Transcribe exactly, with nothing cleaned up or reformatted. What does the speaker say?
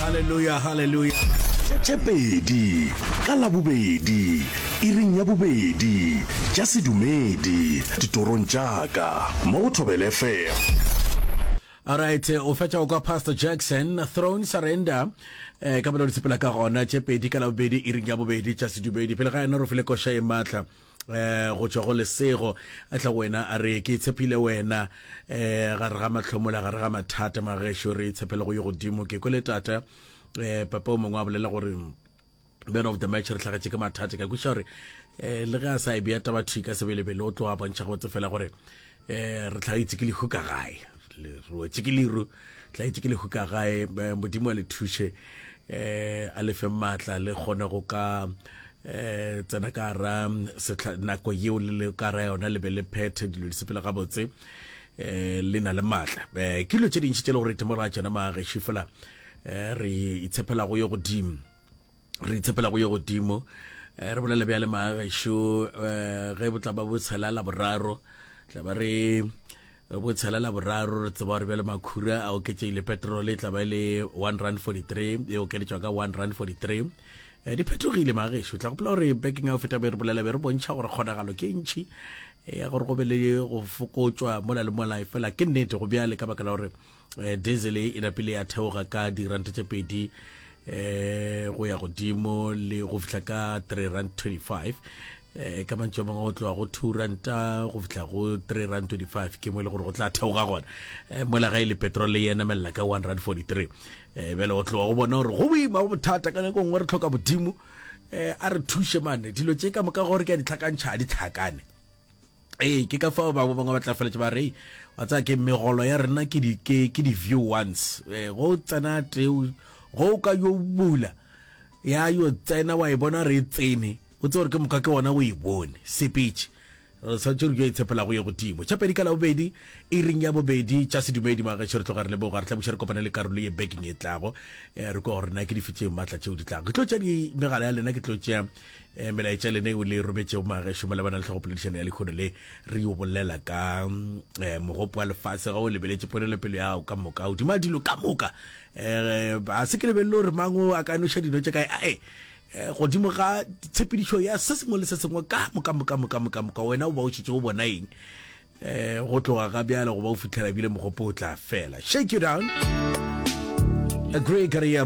Hallelujah, hallelujah. Tše pedi ka Labobedi iring ya bobedi tša sedumedi ditorong tša ka mo go Thobela F M. Alright, o fetša go kwa Pastor Jackson, Throne Surrender, eh, ka belo di sepela ka gona, tše pedi ka Labobedi iring ya bobedi tša sedumedi. Pele ga yena re file koša e maatla eh go tšwa go Lesego, a tla go wena a re ke tshepile wena eh gare ga mahlomola, gare ga mathata. Magešo, re tshepele go yo godimo. Ke kwele tata eh papa o mongwe a bolela gore man of the match re hlagetše ke mathata. Ka kweša gore eh le ge a sa e bea taba thwi ka sebelebele, o tlo a bontšha gabotse fela gore eh re hlagetše ke lehu ka gae, re wetše ke leru, hlagetše ke lehu ka gae. Modimo a le thuše, eh a le fe maatla le kgone go ka eh tsena ka ra nako yeo le le ka ra yona, le be le phethe dilo di sepela gabotse, eh le na le maatla. Eh ke dilo tše dintši tše le gore itemogela tšona magešo, fela eh re itshepela go yo godimo, re itshepela go yo godimo. Eh re bolela bjale magešo, eh ge bo tla ba bo tshela la boraro, tla ba re bo tshela la boraro, re tseba gore bjale makhura a oketšegile, petrol e tla ba e le one rand forty-three, e okeditšwa ka one rand forty-three. Eh di phetogile magešo. Tla gopola gore bekeng ya go feta be re bolela, be re bontšha gore kgonagalo ke ntšhi ya gore go be le go fokotšwa mola le mola, fela ke nnete go bjale ka baka la gore diesel e napile ya theoga ka diranta tše pedi eh go ya godimo le go fihla ka three rand twenty-five. Eh ka mantšu a mangwe, go tloga go two ranta go fihla go three rand twenty-five ke mo e le gore go tla theoga gona. Eh mola ga e le petrol le enamelela ka one rand forty-three. Eh bjale go tloga go bona gore go boima, go bothata. Ka nako nngwe re tlhoka Modimo eh a re thuše mane dilo tše ka moka gore ke a di tlhakantšha, a di tlhakane. Ee, ke ka fao bangwe bangwe ba tla feletše ba re wa tsaya ke megolo ya rena ke di ke ke di view once, eh go tsena teo go ka yo bula ya yo tsena wa e bona re e tsene, o tse gore ke moka ke ona o e bone sepetše. Re swanetše re yo itshepela go ye godimo. Tša pedi ka Labobedi iring ya bobedi tša sedumedi magešo, re tloga re leboga, re tla buša re kopane le karolo ye bekeng e tlago, re kwa gore na ke dife tše maatla tšeo di tlago. Ke tlo tšea di megala ya lena, ke tlo tšea melaetša lena eo le rometšego magešo malebana le tlhogopoledišano ya lekgono le re yo bolela ka mogopo wa lefase. Ga o lebeletše ponelopele ya gago ka moka godima dilo ka moka, a se ke lebelele gore mang o a ka noša dino tše kae, ae godimo ga tshepedišo ya se sengwe le se sengwe ka moka moka moka moka moka, wena o ba o šetše o bona eng eh go tloga ga bjale go ba o fihlela bile mogopo o tla fela? Shake You Down, Agree Career.